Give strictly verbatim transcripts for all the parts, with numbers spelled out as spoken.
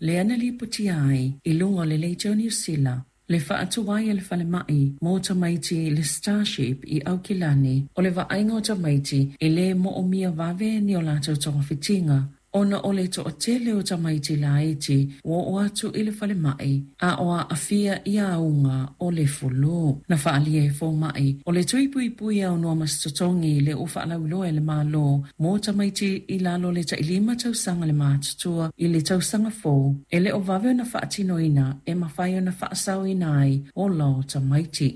Lea na lipotia ai i luga o le Leitio Niu Sila le faatuai e le falemai mo tamaiti le Starship i Aukilani o le vaaiga o tamaiti e lē moomia vave ni o latou togafitiga ona o le toatele o tamaiti laiti ua oo atu i le falemai a o aafia i auga o le fulu. Na faaalia e fomaʻi o le tui puipui aunoa ma se totogi le ua faalauiloa e le Mālō mo tamaiti i lalo le tailima tausaga le matutua i le tausaga fou e le o vave ona faatinoina e mafai ona faasaoina ai ola o tamaiti.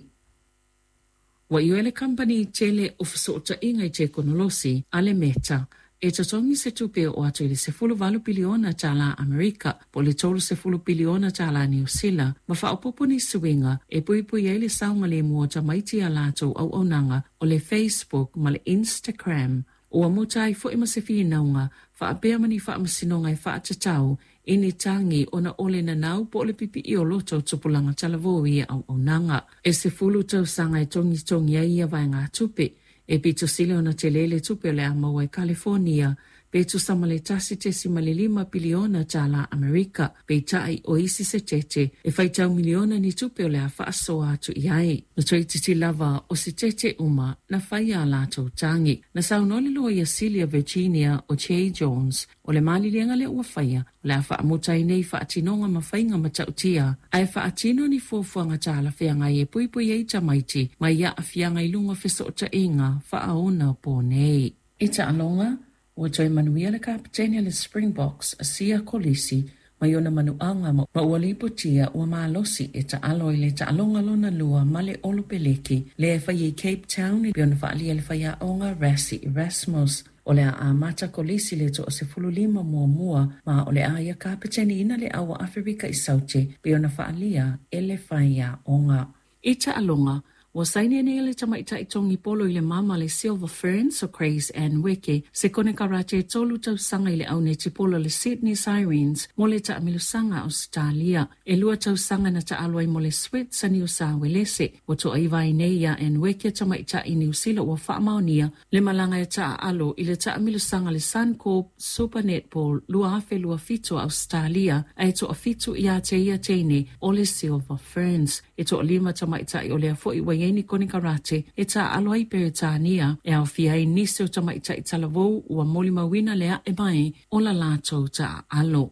Ua ioe le kamupani tele o fesootaiga i tekonolosi a le Meta e totogi se tupe o atu i le sefulu valu piliona tālā Amerika po le tolu sefulu piliona tālā Niu Sila ma faaopoopo ni suiga e puipui ai le saogalemu o tamaiti a latou auaunaga o le Facebook ma le Instagram. Ua muta ai foi ma se finauga faapea ma ni faamasinoga e faatatau i ni tagi ona o le nanau po o le pipii o loto o tupulaga talavou i auaunaga. E sefulu tausaga e togitogi ai ia vaegatupe e pito sili ona tele le tupe o le a maua e California pe tusa ma le tasi tesima le lima piliona tālā Amerika, peitai o isi Setete e faitau miliona ni tupe o le a faasoa atu i ai. Na toeitiiti lava o Setete uma na faia a latou tagi. Na saunoa le loia sili a Virginia o Jay Jones o le maliliega lea ua faia o le a faamuta ai nei faatinoga ma faiga matautia ae faatino ni fuafuaga talafeagai e puipui ai tamaiti mai aafiaga i luga o fesootaiga faaonaponei. I taaloga, ua toe manuia le kapetene le Springboks a Siya Kolisi mai ona manuaga ma ua lipotia ua malosi e taalo i le taaloga lona lua ma le Olopeleki lea e fai i Cape Town e pei ona faaalia le faiaoga Rassie Erasmus. O le a amata Kolisi le toasefululima muamua ma o le a ia kapeteniina le au a Aferika i Saute pei ona faaalia e le faiaoga. I taaloga, ua saini nei le tamaitai togi polo i le mama le Silver Ferns o Grace Ann Weke se konekarate tolu tausaga i le au netipolo le Sydney Sirens mo le taamilosaga Ausetalia. E lua tausaga na taalo ai mo le Swets a Niu Sa Uelese. Ua toaiva ai nei ia Ann Weke tamaitai Niu Sila ua faamaonia le malaga e taaalo i le taamilosaga le Suncorp Super Netball lua afe lua fitu a Ausetalia ae toafitu ia te ia teine o le Silver Ferns. E toalima tamaitai o lea foi ua iai ni konekarate e taaalo ai Peretania e aofia ai nisi o tamaitai talavou ua molimauina le ae mai o la latou taaalo.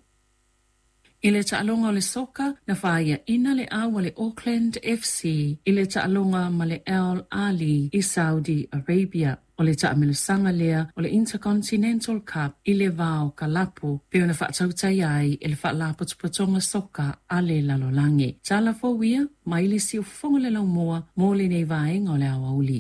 I le taaloga o le soka, na faiaina le au a le Auckland F C i le taaloga ma le Al Ahly i Saudi Arabia. O le taamilosaga lea o le Intercontinental Cup i le va o kalapu pe ona faatautai ai e le faalapotopotoga soka a le lalolagi. Tala fou ia mai le siufofoga le laumua mo lenei vaega o le aoauli.